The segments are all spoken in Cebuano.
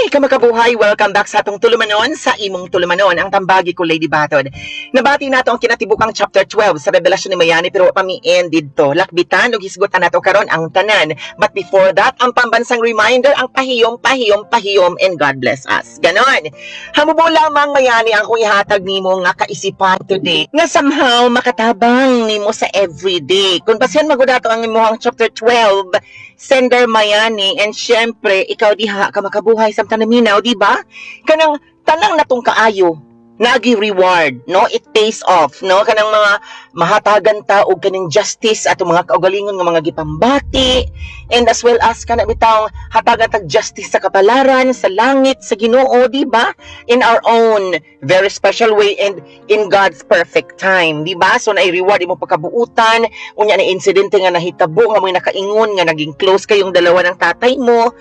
Hi, kamakabuhay! Welcome back sa atong tulumanon, sa imong tulumanon, ang Tambagi Ko, Lady Batod. Nabati nato ang kinatibukang chapter 12 sa Revelasyon ni Mayani, pero wa pa mi end didto. Lakbitan ug hisgutan nato karon ang tanan. But before that, ang pambansang reminder, ang pahiyom, pahiyom, pahiyom, and God bless us. Ganon. Hamubo lamang, Mayani, ang akong ihatag nimo nga kaisipan today nga somehow makatabang nimo sa everyday. Kung basihan magudato ang imong chapter 12, sender Mayani, and syempre, ikaw diha ka makabuhay samtang naminaw, di ba? Kanang tanang natong kaayo, nagi reward, no? It pays off, no? Kanang mga mahatagan ta og kaning justice atong mga kaugalingon nga mga gipambati, and as well as kana bitawng hatagan tag justice sa kapalaran, sa langit, sa Ginoo, di ba? In our own very special way and in God's perfect time, di ba? So na-reward imo pagkabuutan, unya na insidente nga nahitabo nga mo'y nakaingon nga naging close kayong dalawa ng tatay mo.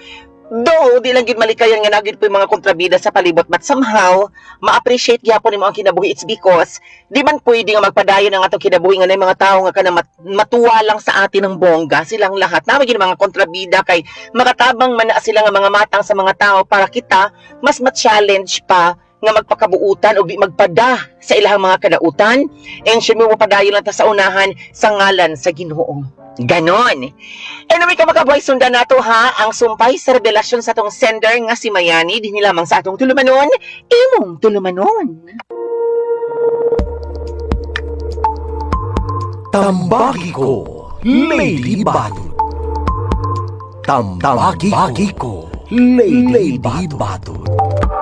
Though, di lang gid malikayan nga nagid po yung mga kontrabida sa palibot, but somehow, ma-appreciate gyapon nimo ang kinabuhi. It's because, di man pwede nga magpadayon ang atong kinabuhi nga na mga tao nga kana matuwa lang sa atin ng bongga, silang lahat. Naman gid mga kontrabida kay makatabang man na sila nga mga matang sa mga tao para kita mas ma-challenge pa nga magpakabuutan o di magpada sa ilahang mga kadautan, and syempre mo padayon lang ta sa unahan sa ngalan sa Ginoo. Ganon. Anyway, kamakabuhay, sundan nato ha ang sumpay sa revelasyon sa atong sender nga si Mayani dinhi lamang sa atong tulumanon, imong tulumanon. Tambagi Ko, Lady Batod. Tambagi Ko, Lady Batod.